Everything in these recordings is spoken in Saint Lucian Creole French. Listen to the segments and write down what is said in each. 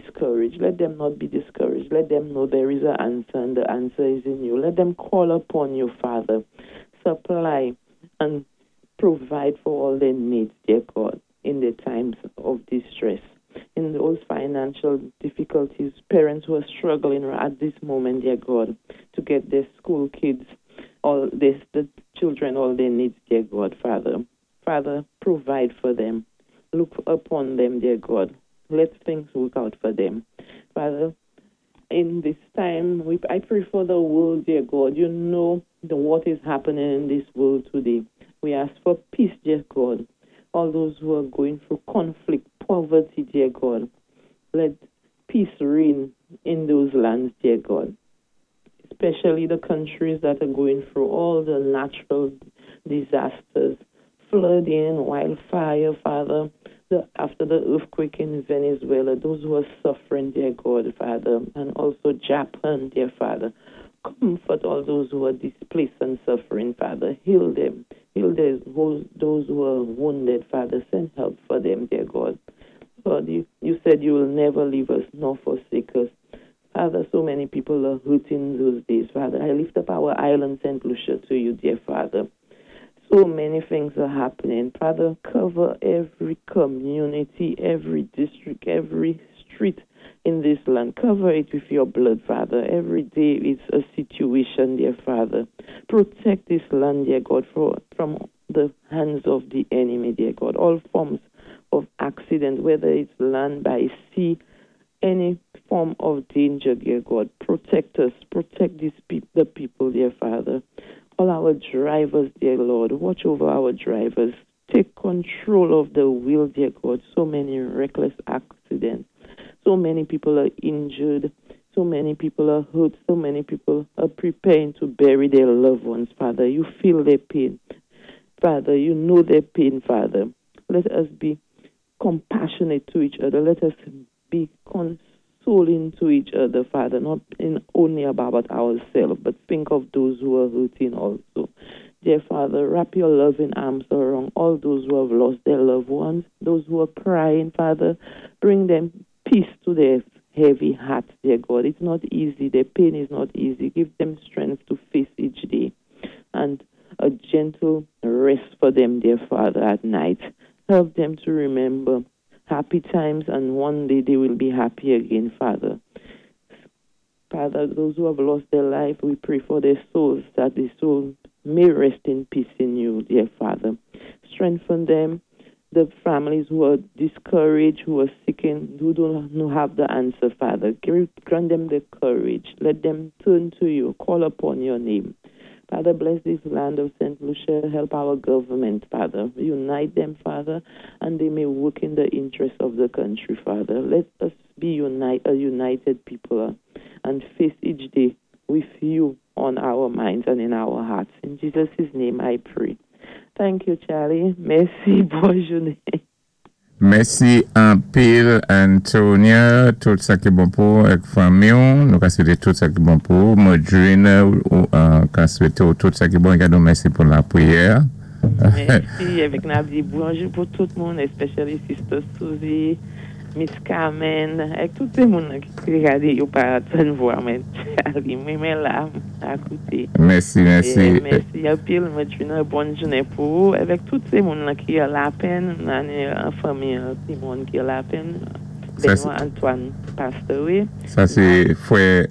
discouraged. Let them not be discouraged. Let them know there is an answer and the answer is in you. Let them call upon you, Father. Supply and provide for all their needs, dear God, in the times of distress. In those financial difficulties, parents who are struggling at this moment, dear God, to get their school kids, all this, the children, all their needs, dear God, Father. Father, provide for them. Look upon them, dear God. Let things work out for them. Father, in this time, I pray for the world, dear God. You know what is happening in this world today. We ask for peace, dear God. All those who are going through conflict, poverty, dear God. Let peace reign in those lands, dear God. Especially the countries that are going through all the natural disasters, flooding, wildfire, Father. After the earthquake in Venezuela, those who are suffering, dear God, Father, and also Japan, dear Father. Comfort all those who are displaced and suffering, Father. Heal them. Heal those who are wounded, Father. Send help for them, dear God. Lord, you said you will never leave us nor forsake us. Father, so many people are hurting those days, Father. I lift up our island, St. Lucia, to you, dear Father. So many things are happening. Father, cover every community, every district, every street in this land. Cover it with your blood, Father. Every day is a situation, dear Father. Protect this land, dear God, from the hands of the enemy, dear God. All forms of accident, whether it's land, by sea, any form of danger, dear God. Protect us. Protect the people, dear Father. All our drivers, dear Lord, watch over our drivers. Take control of the wheel, dear God. So many reckless accidents. So many people are injured. So many people are hurt. So many people are preparing to bury their loved ones, Father. You feel their pain. Father, you know their pain, Father. Let us be compassionate to each other. Let us be consoling to each other, Father, not in only about ourselves, but think of those who are hurting also. Dear Father, wrap your loving arms around all those who have lost their loved ones, those who are crying, Father. Bring them peace to their heavy hearts, dear God. It's not easy. Their pain is not easy. Give them strength to face each day and a gentle rest for them, dear Father, at night. Help them to remember happy times, and one day they will be happy again, Father. Father, those who have lost their life, we pray for their souls, that the soul may rest in peace in you, dear Father. Strengthen them, the families who are discouraged, who are seeking, who don't have the answer, Father. Grant them the courage. Let them turn to you, call upon your name. Father, bless this land of St. Lucia. Help our government, Father. Unite them, Father, and they may work in the interest of the country, Father. Let us be a united people and face each day with you on our minds and in our hearts. In Jesus' name I pray. Thank you, Charlie. Mèsi. Bòn jounen. Mèsi anpil, Antonia. Tout sa ki bon pou ak fanmi. Nou ka swété tout sa ki bon pou Modrine ou ka swété tout sa ki bon. Gadon mèsi pou lapriyè. Mèsi. Avèk n ap di bonjou pou tout moun, especially Sister Suzy, Miss Carmen, ak tout moun ki gadé yo pa tann vwa mwen, Charlie. Mwen menm la a kouté. Mèsi, mèsi. Mèsi anpil, Modrine. Bòn jounen pou ou. Avèk tout moun ki an lapenn, an fanmi, ti moun ki an lapenn. Benoît Antoine, pastor, wi. Sa sé frè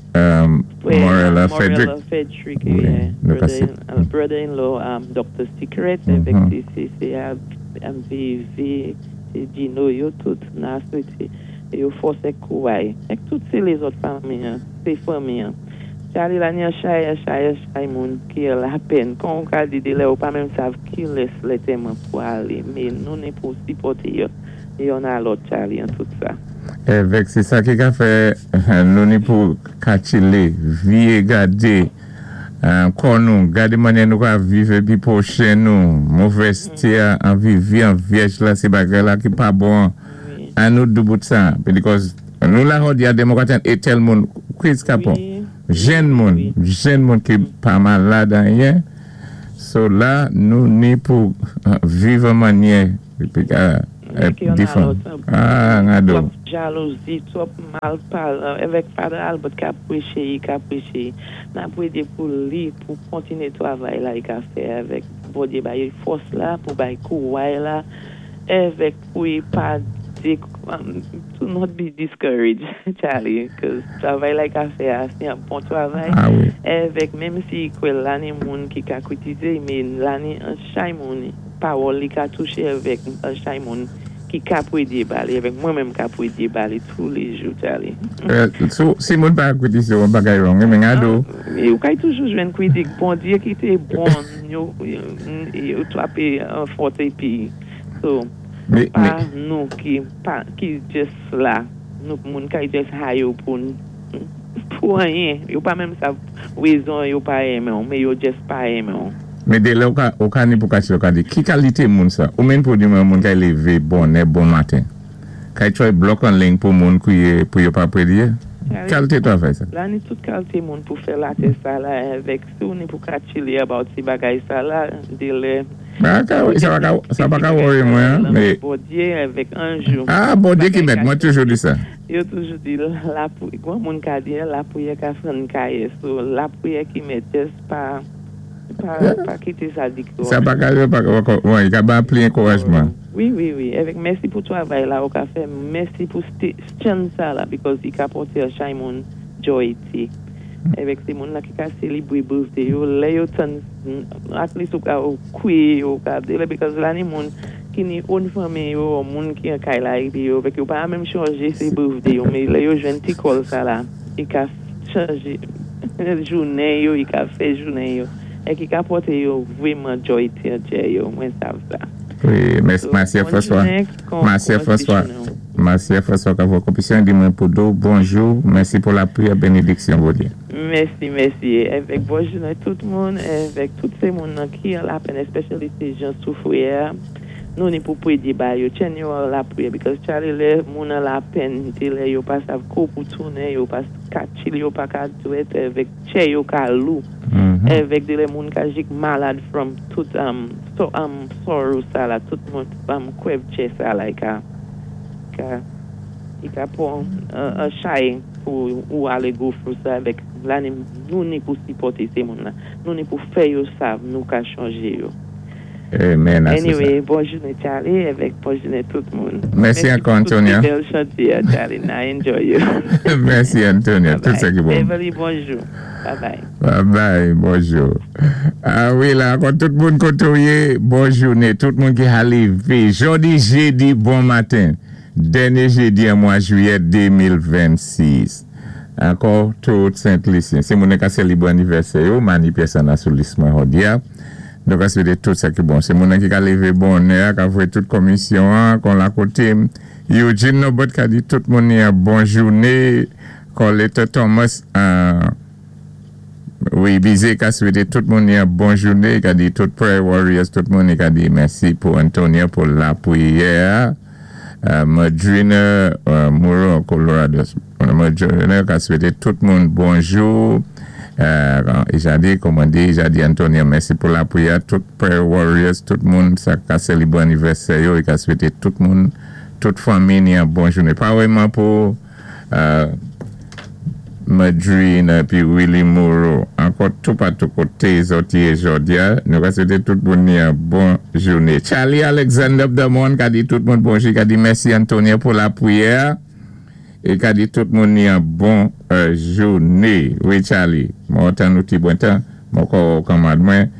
Morella Frederick. Frederick, wi, brother-in-law Dr. Secret, avèk CCCA, MVV, Gino, yo tout, n a swété yo fòs ak kouray. Ak tout sé lézòt fanmi, sé fanmi. Charlie la ni chay, chay, chay moun ki an lapenn. Kon ou ka di dé lè ou pa menm sav ki lès lè tèman pou alé. Mé nou ni pou sipòté yo, youn a lòt, Charlie, an tout sa. Avèk sé sa ki ka fè nou ni pou katchilé, viyé gadé kò nou, gadé mannyè nou ka viv épi pwochen nou, movèzté a, anvi vi an vyèj la sé bagay la ki pa bon an nou doubout sa because nou la jòdi a demokrat é tèl moun kriz kapon jenn moun jenn moun ki pa malad anyen so la nou ni pou viv an mannyè. Difan. Ah, ngado. Twòp jalouzi, twòp mal pal, avèk Father Albert ka pwéché, i ka pwéché. N ap pwédé pou li, pou kontiné twavay la i ka fè avèk Bondyé bay fòs la, pou bay kouway la, avèk pou i pa to not be discouraged, Charlie, 'cause twavay la i ka fè a, sé yon bon twavay. Ah wi. Avèk menm si kwè la ni moun ki ka kwitizé, mé la ni an chay moun, pawòl li ka touché avèk an chay moun ki ka pwédé ba li, avèk mwen menm ka pwédé ba li tou lé jou, Charlie. So, si moun pa kwitize, yon bagay wrong, mé ngado. Ou kay toujou jwenn kwitik, Bondyé ki té bon, yo, yo twapé an fòt épi. So, pa nou ki, pa, ki just la, nou moun kay just hayi yo pou anyen. Yo pa menm sav wezon yo pa renmen ou, mé yo just pa renmen ou. Mé dé lè ou ka ni pou kachi ou ka di, ki kalité moun sa? Ou menm pou di mwen moun kay lévé bonè, bon maten. Kay try block an ling pou moun kouye pou yo pa pwédyé? Kalité twavay sa? La ni tout kalité moun pou fè latè sa la avèk si ou ni pou ka chile about ti bagay sa la, dé lè. Sa pa ka worry mwen, mé. Bondyé avèk anjou. Ah, Bondyé ki mèt, mwen toujou di sa. Yo toujou di, la pou, gwan moun ka di, lapwiyè ka fann kayé, so lapwiyè ki mèt, just pa kité sa di ki. Sa pa ka, pa ka ba pli ankourajman. Wi, avèk mèsi pou twavay la ou ka fè, mèsi pou chan sa la, because i ka pòté a chay moun joy ti. Avèk sé moun la ki ka sélébwé birthday yo, lè yo tann, at least ou ka ou kwié yo, ou ka délé, because la ni moun ki ni own fanmi yo, ou moun ki an kay la épi yo, avèk yo pa menm chanje sé birthday yo, mé lè yo jwenn ti call sa la, i ka chanje jounen yo, i ka fè jounen yo, é ki ka pòté yo vwéman joy ti an tchè yo, mwen sav sa. Wi, Marcia François. Marcia François. Marcia François ka vo kompisyon di mwen pou do. Bonjou, mèsi pou lapriyè, bénédiksyon Bondyé. Mèsi, mèsi. Avèk bon jounen tout moun, avèk tout sé moun nan ki an lapèn, especially sé jan soufwé, nou ni pou pwédyé ba yo, tjenn yo an lapwiyè, because Charlie lè moun an lapèn, té lè yo pa sav kou pou tounen, yo pa ka chill, yo pa ka dwèt, avèk tchè yo ka lou, avèk dé lè moun ka jik malad from tout so, sorrow sa la, tout moun kwèv tchè sa la, i ka pwan an chay pou ou alé go through sa avèk la ni nou ni pou sipòté sé moun la. Nou ni pou fè yo sav nou ka chanjé yo. Amen. Anyway, bon jounen Charlie, avèk bon jounen tout moun. Mèsi ankò, Antonia. Tout bèl chanté, Charlie. Na enjoy you. Mèsi, Antonia. Tout sa ki bon. Beverly, bonjou. Bye bye. Bye bye, bonjou. Ah wi, la, ankò tout moun kotoyé, bon jounen. Tout moun ki lévé. Jòdi, jédi, bon maten. Dènyé jédi an mwa jwiyè 2026. Ankò, tout Sent Lisyen. Sé moun ka sélébwé anivèsè yo, Mani pyès an sou lis mwen jòdi a. Donk, a swété tout sa ki bon. Sé moun ki ka lévé bonè, ka fè tout komisyon, an, kon la koté. Eugene Nobot ka di tout moun yon bon jounen. Colette Thomas, wi, Bizé ka swété tout moun yon bon jounen. Ka di tout Prayer Warriors, tout moun ka di mèsi pou Antonia pou lapwiyè. Madrina Moreau, Colorado. Madrina ka swété tout moun bonjou. E jadi, kòman di, jadi Antonia, mèsi pou lapwiyè. Tout Prayer Warriors, tout moun, sa ka sélébwé anivèsè yo, i ka swété tout moun, tout fanmi yon bon jounen. Pa vwéman pou Madrina pi Willy Moreau. Ankò tout patou koté zòt yé jòdi a, nou ka swété tout moun yon bon jounen. Charlie Alexander Damon ka di tout moun bonjou, ka di mèsi Antonia pou lapwiyè. É ka di tout moun yon bon jounen. Wi Charlie, mwen tann nou ti bon tan, mwen kwè kanmad mwen.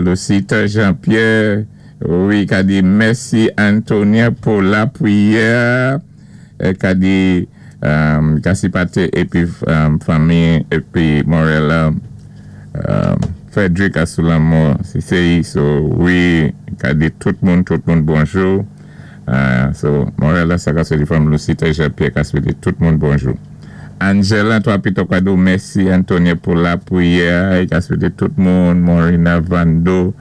Lucita Jean-Pierre, wi, ka di mèsi Antonia pou lapwiyè. Ka di Kasipate épi fanmi épi Morella Frederick Asulamor CCI, so wi, ka di tout moun bonjou. So Morella sa ka swété fanmi Lucita Jean-Pierre ka swété tout moun bonjou. Angela toi Pito Kado, mèsi Antonia pou lapwiyè, ka swété tout moun, Morina Vando,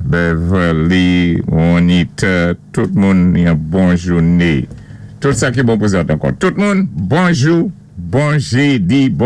Beverly, Juanita, tout moun yon bon jounen. Tout sa ki bon pou zòt ankò. Tout moun, bonjou, bon jédi, bon.